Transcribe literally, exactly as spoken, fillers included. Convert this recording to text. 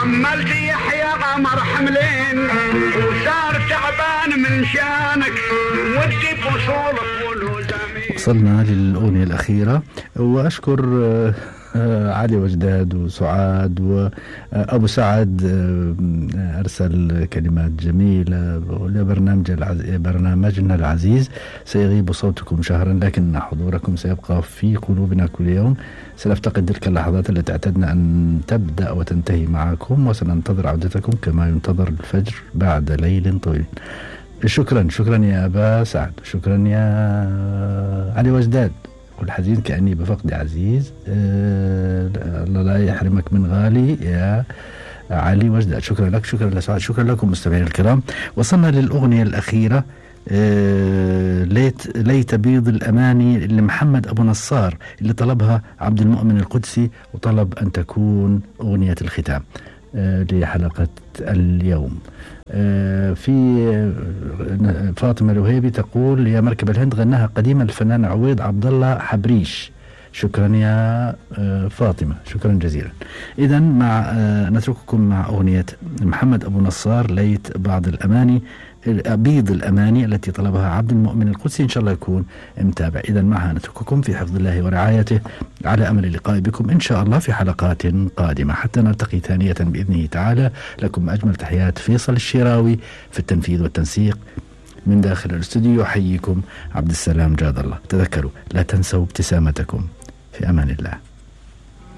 عملت يحيى غمر حملين وصار تعبان من شانك ودي بوصولك ولوزامين. وصلنا للأغنية الأخيرة، وأشكر علي وجداد وسعاد وأبو سعد أرسل كلمات جميلة لبرنامج العز... برنامجنا العزيز. سيغيب صوتكم شهرا لكن حضوركم سيبقى في قلوبنا كل يوم. سنفتقد تلك اللحظات التي اعتدنا أن تبدأ وتنتهي معكم، وسننتظر عودتكم كما ينتظر الفجر بعد ليل طويل. شكرا شكرا يا أبا سعد، شكرا يا علي وجداد. والحزين كأني بفقد عزيز. أه الله لا يحرمك من غالي يا علي وجداد. شكرا لك، شكرا لسعاد، شكرا لكم مستمعين الكرام. وصلنا للأغنية الأخيرة، أه ليت ليت بيض الأماني لمحمد أبو نصار اللي طلبها عبد المؤمن القدسي، وطلب أن تكون أغنية الختام أه لحلقة اليوم. أه في فاطمة الوهيبي تقول يا مركب الهند غناها قديما الفنان عويض عبد الله حبريش. شكرا يا فاطمة، شكرا جزيلا. إذا مع نترككم مع أغنية محمد أبو نصار ليت بعض الأماني بيض الأماني التي طلبها عبد المؤمن القدسي. إن شاء الله يكون متابع. إذا معها نترككم في حفظ الله ورعايته، على أمل اللقاء بكم إن شاء الله في حلقات قادمة حتى نلتقي ثانية بإذنه تعالى. لكم أجمل تحيات فيصل الشراوي في التنفيذ والتنسيق. من داخل الاستوديو يحييكم عبد السلام جاد الله. تذكروا لا تنسوا ابتسامتكم. في أمان الله.